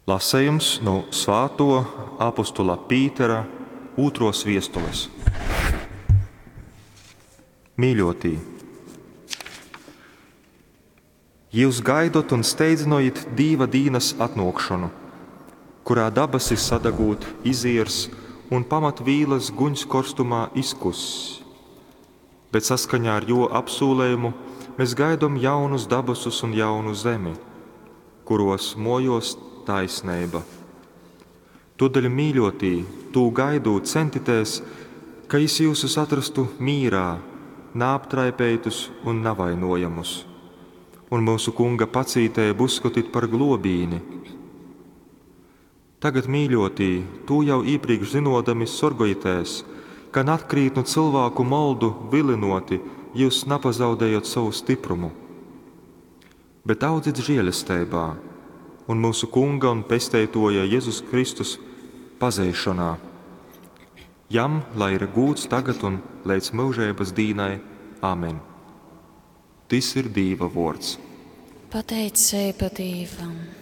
Lasejums nu svātuo apostula Pītera ūtruos viestules. Mīļuotī! Jius gaidot un steidzynojit Dīva dīnas atnuokšonu, kurā dabasi sadagūt iziers un pamatvīlas guņs korstumā izkuss. Bet saskaņā ar Juo apsūlejumu mes gaidom jaunus dabasus un jaunu zemi, kuruos muojuos taisneiba. Tuodeļ, mīļuotī, tū gaidūt, centitēs, ka Jis jiusus atrastu mīrā, naaptraipeitus un navainojamus. Un myusu Kunga pacīteibu uzskotit par gluobīni. Tagad, mīļuotī, tū jau īprīkš zynuodami, sorgojitēs, ka nakrītnu cylvāku moldu vylynuoti jius napazaudejot sovu styprumu. Bet audzit žielesteibā un myusu Kunga un Pesteituoja Jezus Kristus pazeišonā. Jam lai ir gūds tagad un leidz myužeibys dīnai. Amen. Tys ir Dīva vuords. Pateiceiba Dīvam.